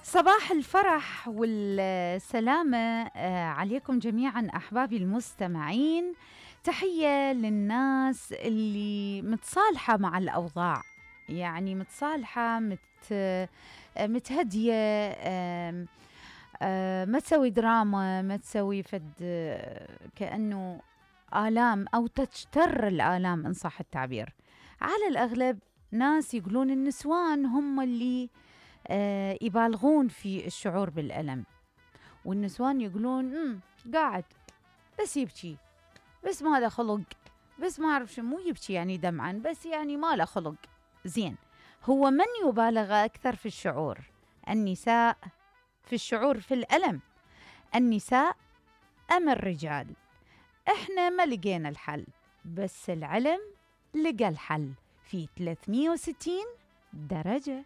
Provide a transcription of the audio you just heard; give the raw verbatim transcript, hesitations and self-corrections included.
صباح الفرح والسلامة عليكم جميعاً أحبابي المستمعين. تحية للناس اللي متصالحة مع الأوضاع، يعني متصالحة مت متهدية، ما تسوي دراما، ما تسوي فد كأنه آلام أو تجتر الآلام إن صح التعبير. على الأغلب ناس يقولون النسوان هم اللي آه يبالغون في الشعور بالألم، والنسوان يقولون امم قاعد بس يبكي، بس ما له خلق، بس ما أعرف شو، مو يبكي يعني دمعا، بس يعني ما له خلق. زين، هو من يبالغ أكثر في الشعور؟ النساء في الشعور في الألم، النساء أم الرجال؟ إحنا ما لقينا الحل، بس العلم لقى الحل في ثلاثمية وستين درجة.